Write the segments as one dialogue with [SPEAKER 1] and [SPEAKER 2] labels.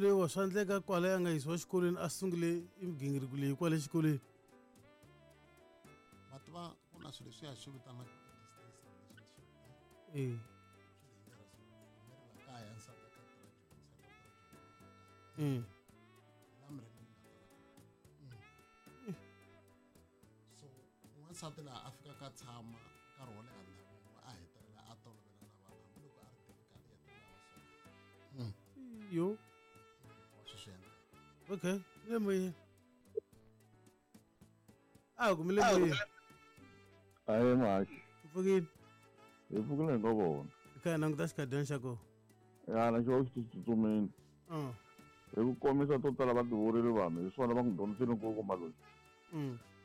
[SPEAKER 1] loyiwa swa endleka kwale a nga yisiwa xikolweni a sungule i migingiriko leyi kwale xikolweni.
[SPEAKER 2] Ma tiva ku na swilo leswi ya swi vitanaka distance relationship.
[SPEAKER 1] E.
[SPEAKER 2] Swi dangerous. Mi ri la kaya, nsati a kha a tirha Joni, nsati a tirha Joni. La mi ri mi nga tala. So n'wansati laha a fikaka a tshama nkarhi wo leha ndhawu yin'we, a hetelela a tolovela na vanhu, hambiloko a ri difficult, i hetelela va so.
[SPEAKER 1] Yo.
[SPEAKER 2] Wa swi endla.
[SPEAKER 1] Okay, mi le moyeni. A ku mi le moyeni.
[SPEAKER 3] Ahe Mhaxi.
[SPEAKER 1] Pfukile.
[SPEAKER 3] Hi pfukile hi nga vona.
[SPEAKER 1] Hi kha hi languta xikhadana xa kona.
[SPEAKER 3] Ya na xo xi tsutsumile. Hi ku komisa to tala va tivurile vanhu, hi swona va n'wi dyondzisile nkulukumba loyi.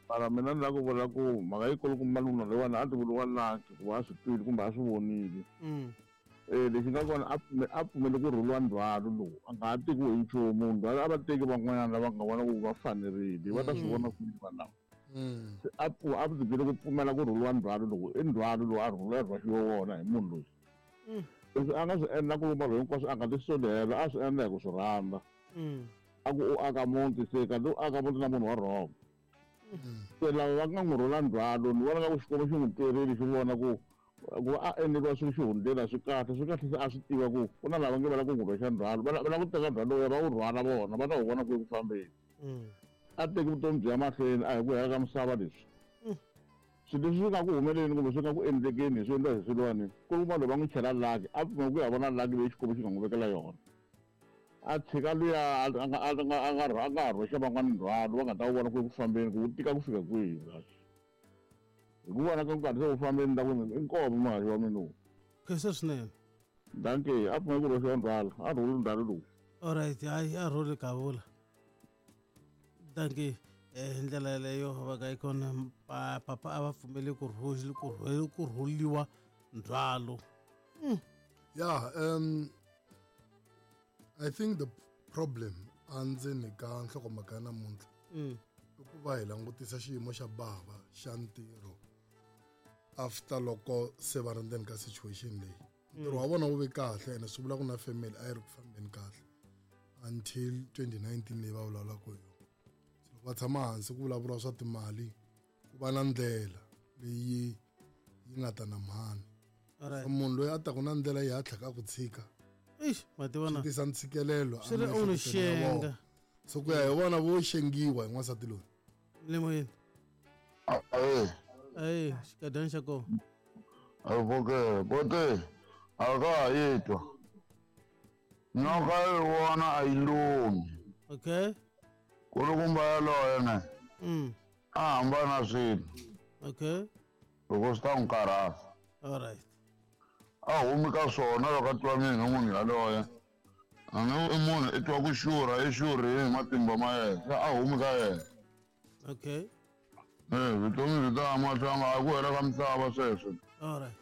[SPEAKER 3] Mara mina ni lava ku vula ku mhaka yi kulukumba munhu loyiwani a ti vuriwa lucky ku va a swi twile kumbe a swi vonile. Lexi nga kona a pfumele ku rhuliwa ndzhwalo lowu, a nga ha tekiwi hi nchumu ndzhwalo, a va teki van'wanyana lava nga vona ku va fanerile, va ta swi vona kwini vanhu lava. Se a ti byele ku pfumela ku rhuliwa ndzhwalo lowu, i ndzhwalo lowu a rhuliwa rhwaxiwe wona hi munhu loyi. Leswi a nga swi endla nkulukumba loyi hinkwaswo a nga ti soli helo, a swi endla hi ku swi rhandza. A ku u aka muti, se kanti u aka muti na munhu wa wrong. Se lava va nga n'wi rhula ndzhwalo, ni vona nga ku Xikwembu xi n'wi twerile, xi vona ku ku va a endleriwa swilo xihundleni a swi kahle, swi kahle se a swi tiva ku ku na lava nge va lava ku n'wi rhwexa ndzhwalo, va lava ku teka ndzhwalo lowuya va wu rhwala vona, va ta wu vona ku eku fambeni. A teki vutomi byi ya mahlweni, a hi ku hela ka misava leswi. Swilo leswi swi nga ku humeleni kumbe swi nga ku endlekeni hi swi endla hi swilwani, ku ri vanhu va n'wi chela lucky, a pfumela ku ya vona lucky leyi Xikwembu xi nga n'wi vekela yona. A tshika luya a nga ha rhwexa van'wana ndzhwalo, va nga ta wu vona ku eku fambeni ku wu tika ku fika kwihi kahle. Hi ku vona ka nkarhi se wu fambeni ta ku i nkomo muhaxi wa mina lowu.
[SPEAKER 1] Khensa swinene.
[SPEAKER 3] Dankie, a pfumela ku rhwexiwa ndzhwalo, a rhuli ndzhwalo lowu.
[SPEAKER 1] Alright, hayi a rhuli kavula. Dankie. Hi ndlela yeleyo va ka yi kona papa a va pfumeli ku ku rhuliwa ndzhwalo.
[SPEAKER 4] Yeah, I think the problem andzeni ka nhlokomhaka ya namuntlha i ku va hi langutisa xiyimo xa bava xa ntirho after loko se va ri ndzeni ka situation leyi. Ntirho wa vona wu ve kahle ene swi vula ku na family a yi ri ku fambeni kahle until 2019 leyi va vulavulaka hi yona. So loko va tshama hansi ku vulavuriwa swa timali, ku va na ndlela leyi yi nga ta na mhani. So munhu loyi a taku na ndlela yi hatlaka a ku tshika.
[SPEAKER 1] Eish, ma tiva na.
[SPEAKER 4] Swi tisa ntshikelelo
[SPEAKER 1] Swi ri u n'wi
[SPEAKER 4] emiehleketweni ya vona.
[SPEAKER 1] xenga.
[SPEAKER 4] So ku ya hi vona vo xengiwa hi n'wansati loyi.
[SPEAKER 1] Le moyeni.
[SPEAKER 5] Ahe.
[SPEAKER 1] Ahe, xikadana xa kona.
[SPEAKER 5] Avuke, bote, a ka ha yi twa. Nyoka yi vona a yi lumi.
[SPEAKER 1] Okay.
[SPEAKER 5] Kulukumba yaloye ne. A hambana swilo.
[SPEAKER 1] Okay.
[SPEAKER 5] Loko swi ta n'wi karhata.
[SPEAKER 1] All right.
[SPEAKER 5] A humi ka swona loko a twa mina munhu yaloye. A nge i munhu i twa ku xurha, i xurhile hi matimba ma yena. Se a humi ka yena.
[SPEAKER 1] Okay.
[SPEAKER 5] Vutomi byi ta ya mahlweni, a hi ku hela ka misava sweswo.
[SPEAKER 1] All right.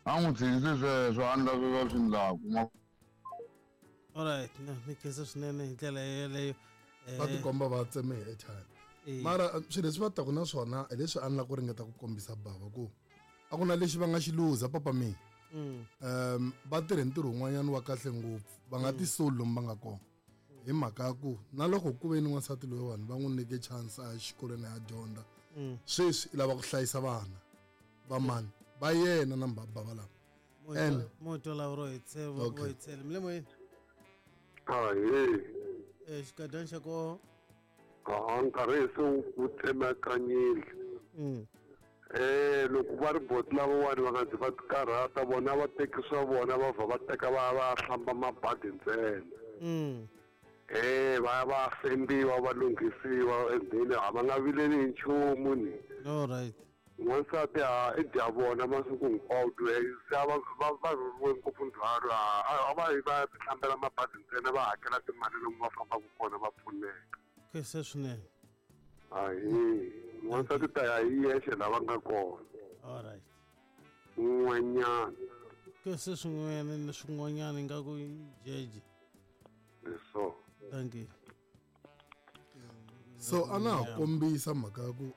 [SPEAKER 5] A n'wi tshikisi sweswo, a endla sweswo a swi endlaku.
[SPEAKER 1] All right, na mi khensa swinene hi ndlela yeleyo.
[SPEAKER 4] Va tikomba va tseme hi airtime. Mara swilo leswi va taku na swona hi leswi a ni lava ku ringeta ku kombisa bava ku a ku na lexi va nga xi luza papa mi. Va tirhe ntirho wun'wanyana wa kahle ngopfu, va nga tisoli lomu va nga kona. Hi mhaka ya ku na loko ku ve ni n'wansati loyiwani va n'wi nyike chance a ya xikolweni a ya dyondza. Sweswi i lava ku hlayisa vana va mani va yena na mbabava lava. And
[SPEAKER 1] Moto la ro hi tseva,
[SPEAKER 4] Okay.
[SPEAKER 1] vo hi tsela. Mi le moyeni?
[SPEAKER 6] Ahee.
[SPEAKER 1] Xikadana xa kona.
[SPEAKER 6] Ha, nkarhi se wu tsemakanyile. Loko va ri boti lavawani va nga zi va tikarhata, vona va teki swa vona va vha va teka va ya va ya hlamba mabadi ntsena. Va ya va fembiwa, va lunghisiwa, and then a va nga vileli hi nchumu ni.
[SPEAKER 1] All right.
[SPEAKER 6] N'wansati a i dya vona masiku hinkwawo, se a va rhuriwe ngopfu ndzhwalo, a va yi va ya tihlambela mabadi ntsena, va hakela timali lomu va fambaka kona va pfuneka.
[SPEAKER 1] Khensa swinene.
[SPEAKER 6] Ahee, n'wansati ta ya hi yexe la va nga kona.
[SPEAKER 1] All right.
[SPEAKER 6] N'wanyana.
[SPEAKER 1] Khensa swin'wana ni swin'wanyana ingaku i jeje.
[SPEAKER 6] Leswo.
[SPEAKER 1] Thank you.
[SPEAKER 4] So a na ha kombisa mhaka ya ku